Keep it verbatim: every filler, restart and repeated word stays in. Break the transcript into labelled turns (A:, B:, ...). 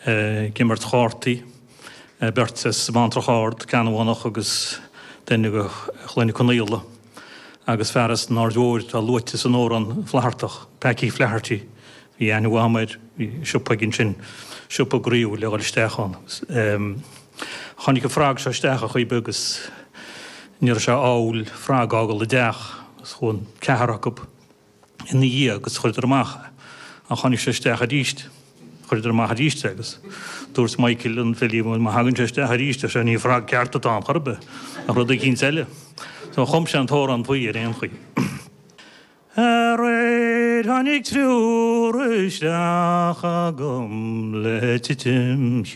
A: ag imirt chártaí, beirt as Abhantrach Ard, Ceannabhánach agus duine de Chloinne Conaola agus fear as an Aird Mhóir atá luaite san amhrán Flaitheartach, Packy Flaherty, bhí aithne mhaith agam air, bhí siopa aige ansin, siopa groíúil le dhul isteach ann. Tháinig an frog seo isteach ar chaoi ar bith agus ní raibh sé ádhúil frog a fhágáil i dteach agus chuaigh an ceathrar acu ina dhiaidh agus chuireadar amach é. Ach tháinig sé isteach arís, chuireadar amach arís é agus dúirt Michael an Philly, bhuel má thagann sé isteach arís, ar sé, ní frog ceart atá ann chor ar bith, ach rud eicínt eile. So chum sé an t-amhrán faoi ar aon chaoi. Aréir tháinig triúr isteach agam le titim